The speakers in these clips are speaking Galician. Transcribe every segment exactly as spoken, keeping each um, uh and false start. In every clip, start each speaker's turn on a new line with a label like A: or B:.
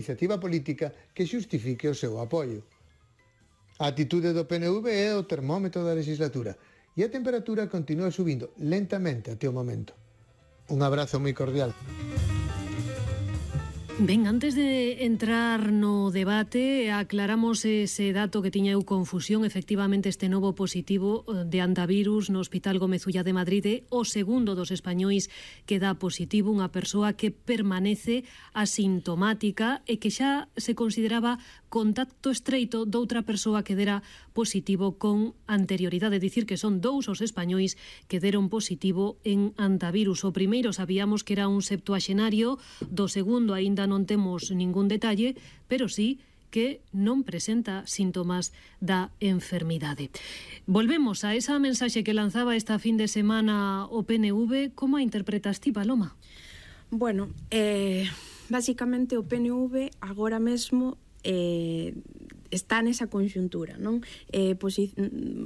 A: iniciativa política que xustifique o seu apoio. A atitude do P N V é o termómetro da legislatura e a temperatura continúa subindo lentamente até o momento. Un abrazo moi cordial.
B: Ben, antes de entrar no debate, aclaramos ese dato que tiña eu confusión. Efectivamente, este novo positivo de antivirus no Hospital Gómez Ulla de Madrid é o segundo dos españois que dá positivo, unha persoa que permanece asintomática e que xa se consideraba contacto estreito doutra persoa que dera positivo con anterioridade. É dicir, que son dous os españois que deron positivo en antivirus. O primeiro sabíamos que era un septuaxenario, do segundo aínda non temos ningún detalle, pero sí que non presenta síntomas da enfermidade. Volvemos a esa mensaxe que lanzaba esta fin de semana o P N V. Como a interpretas ti, Paloma?
C: Bueno, eh, basicamente o P N V agora mesmo eh, está nesa conxuntura, non? Eh, posi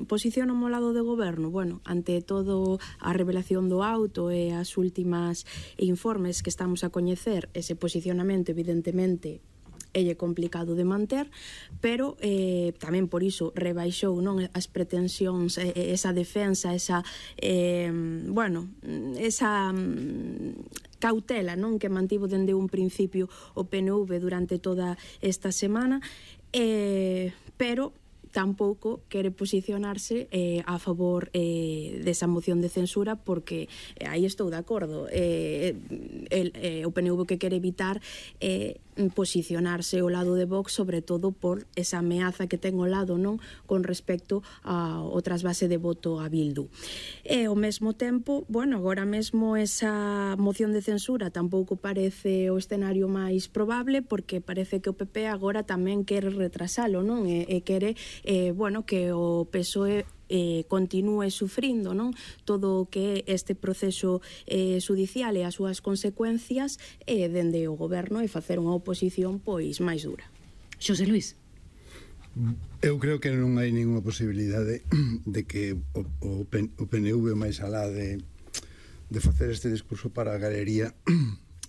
C: posiciona ao lado do goberno, bueno, ante todo a revelación do auto e as últimas informes que estamos a coñecer, ese posicionamento evidentemente é complicado de manter, pero eh, tamén por iso rebaixou, non, as pretensións, eh, esa defensa, esa eh, bueno, esa cautela, non, que mantivo dende un principio o P N V durante toda esta semana, eh, pero tampouco quere posicionarse eh, a favor eh, desa moción de censura, porque eh, aí estou de acordo, eh, el, eh, o P N V que quere evitar eh, posicionarse ao lado de Vox, sobre todo por esa ameaza que ten ao lado, non, con respecto ao trasvase de voto a Bildu. E ao mesmo tempo, bueno, agora mesmo esa moción de censura tampouco parece o escenario máis probable, porque parece que o P P agora tamén quere retrasalo, non, e, e quere eh, bueno, que o P S O E eh, continúe sufrindo, non, todo o que é este proceso eh, judicial e as súas consecuencias eh, dende o goberno, e facer unha oposición pois máis dura.
B: Xosé Luís.
D: Eu creo que non hai ninguna posibilidade de que o, o, o P N V máis alá de, de facer este discurso para a galería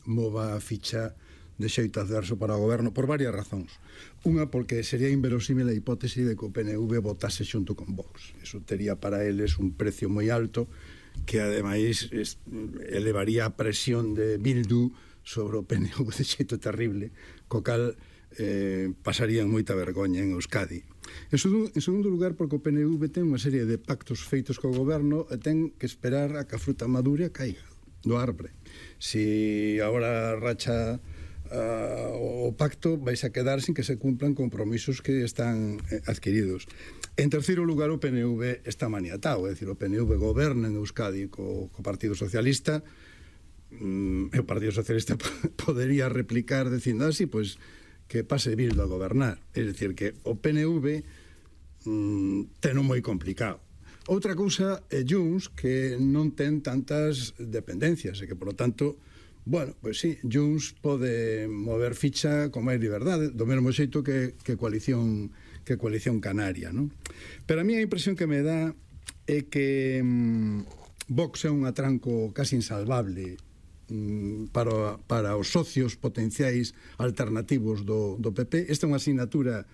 D: mova a ficha de xeito adverso para o goberno por varias razóns. Unha, porque sería inverosímil a hipótese de que o P N V votase xunto con Vox. Eso tería para eles un precio moi alto, que ademais es, elevaría a presión de Bildu sobre o P N V de xeito terrible, co cal eh, pasarían moita vergoña en Euskadi. En segundo, en segundo lugar, porque o P N V ten unha serie de pactos feitos co goberno e ten que esperar a que a fruta madura caiga do arbre. Si agora racha Uh, o pacto vais a quedar sin que se cumplan compromisos que están eh, adquiridos. En terceiro lugar, o P N V está maniatado, é dicir, o P N V goberna en Euskadi co, co Partido Socialista, mm, e o Partido Socialista podería replicar dicindo así, pois que pase Bildu a gobernar. É dicir, que o P N V mm, ten un moi complicado. Outra cousa é Junts, que non ten tantas dependencias e que, por lo tanto, bueno, pois sí, Junts pode mover ficha con máis liberdade, do mesmo xeito que, que coalición que coalición canaria, non? Pero a mí a impresión que me dá é que mmm, Vox é un atranco casi insalvable mmm, para, para os socios potenciais alternativos do, do P P. Esta é unha asignatura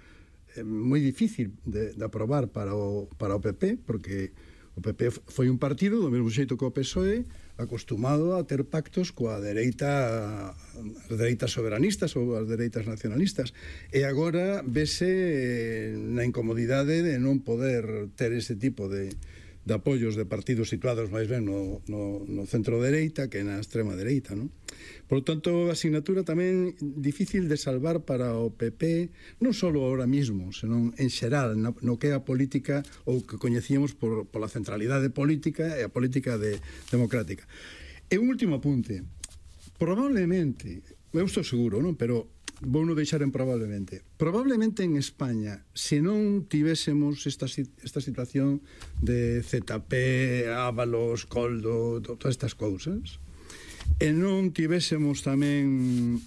D: eh, moi difícil de, de aprobar para o, para o P P, porque o P P foi un partido, do mesmo xeito que o P S O E, acostumado a ter pactos coa dereita, as dereitas soberanistas ou as dereitas nacionalistas, e agora vese na incomodidade de non poder ter ese tipo de, de apoios de partidos situados máis ben no, no, no centro dereita que na extrema dereita, non? Por lo tanto, a asignatura tamén difícil de salvar para o P P, non só ahora mismo, senón en xeral, no, no que é a política ou que coñecíamos por, por a centralidade política e a política de, democrática. E un último apunte. Probablemente, eu estou seguro, non? Pero vou non deixar en probablemente. Probablemente en España, se non tivésemos esta, esta situación de Z P, Ábalos, Coldo, todas estas cousas, e non tivésemos tamén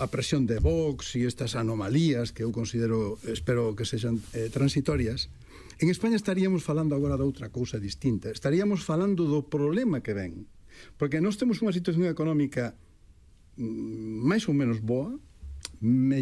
D: a presión de Vox e estas anomalías que eu considero, espero que sexan eh, transitorias, en España estaríamos falando agora de outra cousa distinta. Estaríamos falando do problema que ven. Porque nós temos unha situación económica máis ou menos boa,